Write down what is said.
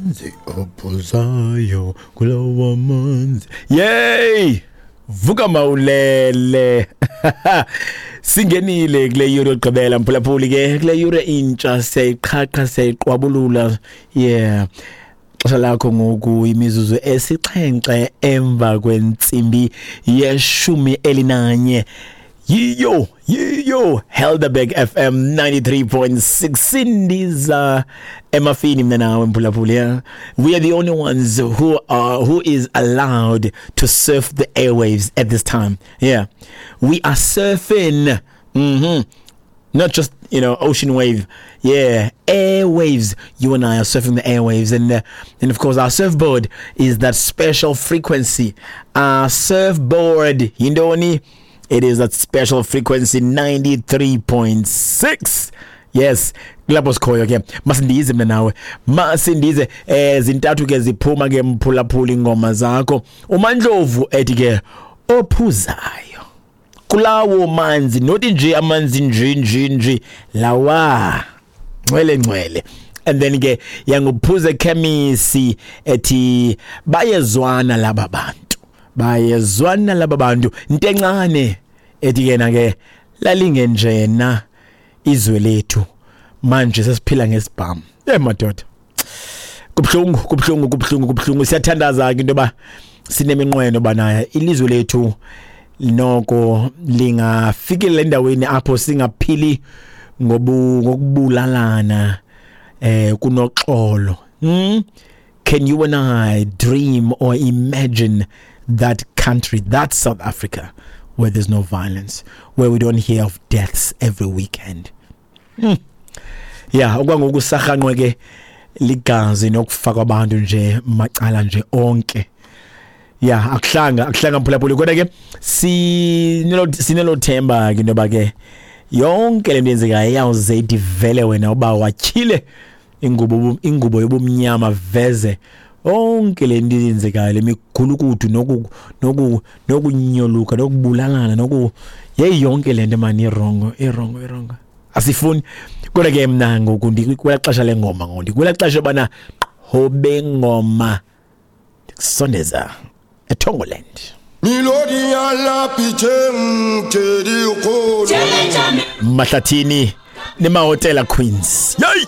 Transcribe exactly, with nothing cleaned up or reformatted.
Amanzi ophuzayo kulawa manzi. Yey! Vuka mawulele. Singenile kule yure yokugqibela, mphulaphuli, ke kule yure intsha siyayiqhaqha, siyayiqwabulula. Yeah. Xesha lakho ngoku imizuzu esixhenxe emva kwentsimbi yeshumi elinanye. Yiyo, yiyo Helderberg F M ninety-three point six, sindiza emafini mina nawe, mphulaphuli. Yeah, we are the only ones who are who is allowed to surf the airwaves at this time. Yeah, we are surfing mhm not just you know ocean wave, yeah, airwaves. You and I are surfing the airwaves, and uh, and of course our surfboard is that special frequency. Our surfboard yintoni? It is that special frequency ninety-three point six. Yes, kulapho sikhoyo ke. Masindize mina nawe, masindize. eh zintathu ke ziphuma ke, mphulaphula, ingoma zakho. UMandlovu ethi ke ophuzayo kulawo manzi, not nje amanzi nje nje nje lawa ngcwele ngcwele. And then ke yanguphuze khemisi ethi bayezwana laba bantu, bayezwana laba bantu. Into encane ethi yena ke lalingenjena izwe lethu, manje sesiphila ngesibhamu. Eh madoda, kubhlungu, kubhlungu, kubhlungu, kubhlungu. Siyathandaza ke into yoba sineminqweno banayo ilizwe lethu noko lingafikela endaweni apho singaphili ngobu ngokubulalana, eh kunoxolo. hmm? Can you and I dream or imagine that country, that South Africa where there's no violence, where we don't hear of deaths every weekend? hmm. Yeah, okwangoku sarhanqwe ke ligazi nokufa kwabantu nje macala nje onke. Yeah, akuhlanga, akuhlanga, mphulaphuli, kodwa ke sinelo sinelo themba ke into yoba ke yonke le nto yenzekayo iyawuze ithi vele wena uba watyhile ingubo ingubo yobumnyama, veze yonke le nto yenzekayo, le migulukudu noku noku nokunyoluka nokubulalana noku yeyi, yonke le nto mani i-wrong, i-wrong, i-wrong, asifuni. Kodwa ke mna ngoku ndikwela xesha lengoma, ngoku ndikwela xesha yobana qhobe ngoma ndikusondeza eThongoland. Melodi ya la piteng tse dikgolo. Mahlathini neMahotella Queens, yeyi.